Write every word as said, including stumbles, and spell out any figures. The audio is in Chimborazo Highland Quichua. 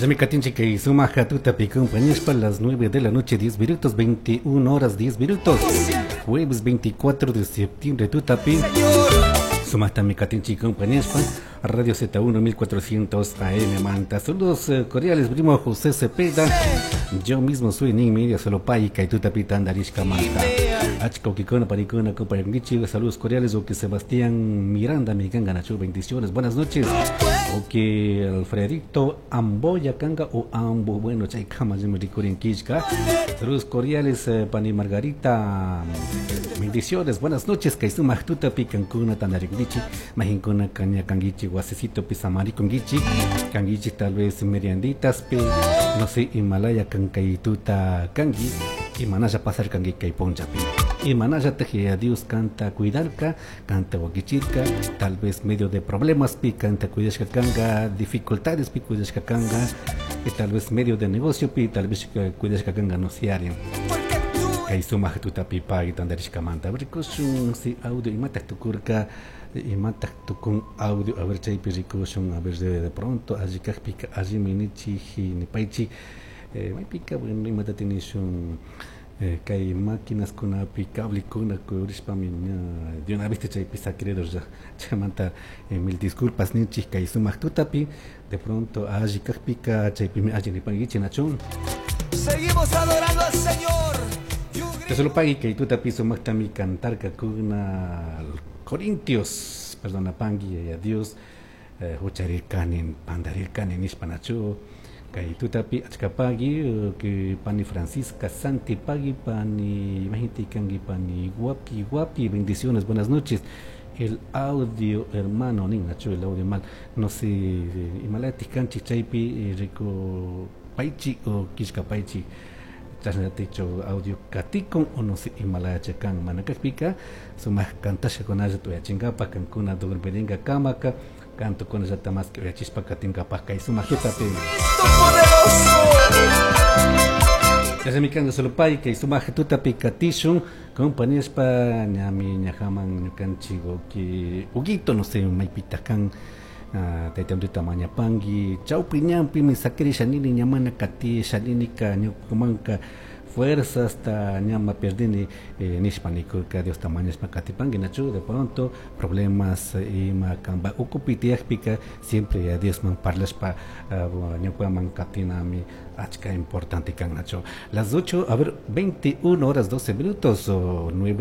Chashnami katinchik kay sumak tutapi compañeros las nueve de la noche diez minutos, veintiuna horas diez minutos, jueves veinticuatro de septiembre tutapi. Sumaktami katinchik compañeros Radio Z uno mil cuatrocientos A M Manta. Saludos eh, cordiales, primo José Cepeda. Yo mismo soy ni media solo pay kay tutapi tandarishka manta. Achka ukikuna parikuna compañeros, saludos cordiales. O que Sebastián Miranda mi ganga nacho, bendiciones, buenas noches. O que Alfredito Amboya kanga o Ambo, bueno, chay kama yo me rikurin kishka. Saludos cordiales, eh, pani Margarita, bendiciones, buenas noches. Kay sumak tutapi kankuna tandariknichi, mahinkuna kaña kangichi, guasecito pisamari kongichi, kangichi tal vez merianditas, pe, no sé, Himalaya kankaituta kangi, y manaya pasar kangi kay ponchapi. Y manaya teje a Dios canta cuidarka, canta wakichirka, tal vez medio de problemas pi canta cuidashka kanga, dificultades pi cuidashka kanga, y tal vez medio de negocio pi, tal vez cuidashka kanga no se harían. Kay sumak tutapi pagi tandarishka manta. A ver, rikushun si audio imatak tukurka, imatak tukun audio, a ver chaypi rikushun, a ver de, de pronto allí kajpika, allí minichi, nipaichi, eh, maypika, bueno, imata tinishun, eh, kay máquinas kunapi, cable kuna, kurishpami, ña, de una vez chaypi saquereros ya, chaymanta, eh, mil disculpas ninchik kay sumak tutapi, de pronto allí kajpika, chaypi mi allí nipanguichi nachun. Seguimos adorando al Señor. Te solo pagui que tú te piso mactami cantar kakuna Corintios, perdona pangui y a Dios, eh, hucharir kanin, pandarir kanin ispanachu, kay tutapi achkapagui, que pani Francisca Santi pagui, pani imagínate kangi pani guapi guapi, bendiciones, buenas noches. El audio hermano ninachu, el audio mal, no sé, imalati kanchi chaypi rico paichi o kishka paichi. Chashnaticho audio katikon o no sé Himalaya chakan manakakpika sumak kantasha konaya tuyachingapa kankuna durmiringa kamaka canto con ella más que uyachispa katingapa kay sumak tutapi. Ya mi kanga solo pay kay sumak tutapi katishun compañespa ñami ñajaman ñukanchigo ki Huguito no sé maypita kan. Ah, tayta Amrita mañapangi chawpi ñanpi mi sakiri shanini ñamana kati shanini ka ñukumanka fuerza hasta ñama perdini, eh, nishpa nikurka Dios tamañashpa katipangi nachu de pronto problemas ima kamba ukupi tiyakpika siempre a Dios man parlashpa, ah, ñukaman katinami achka importante kan nachu. Las ocho, a ver, veintiuna horas doce minutos o nueve